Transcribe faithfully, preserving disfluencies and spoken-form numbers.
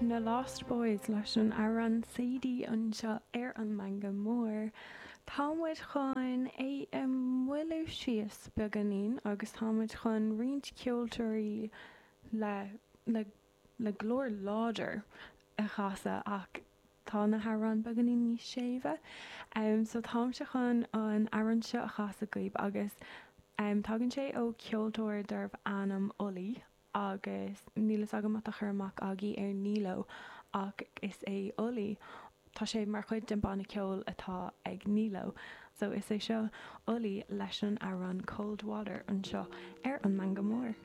Na Lost Boys leis an amhrán Sadie anseo ar an Meangadh Mór. Tá muid chun é a mhoilliú síos beagáinín agus tá muid chun roinnt ceoltóirí le le le glór láidir a chasadh ach tá na hamhráin beagáinín níos séimhe. Um, so táimse chun an amhrán seo a chasadh daoibh agus um, tagann sé ó ceoltóir darbh ainm Ollie agus níl a fhios agam má tá cur amach agaibh ar Nilo ach is é Ollie. Tá sé mar chuid den banna ceoil atá ag Nilo. So is é seo Ollie leis an amhrán Cold Water anseo ar an Meangadh Mór.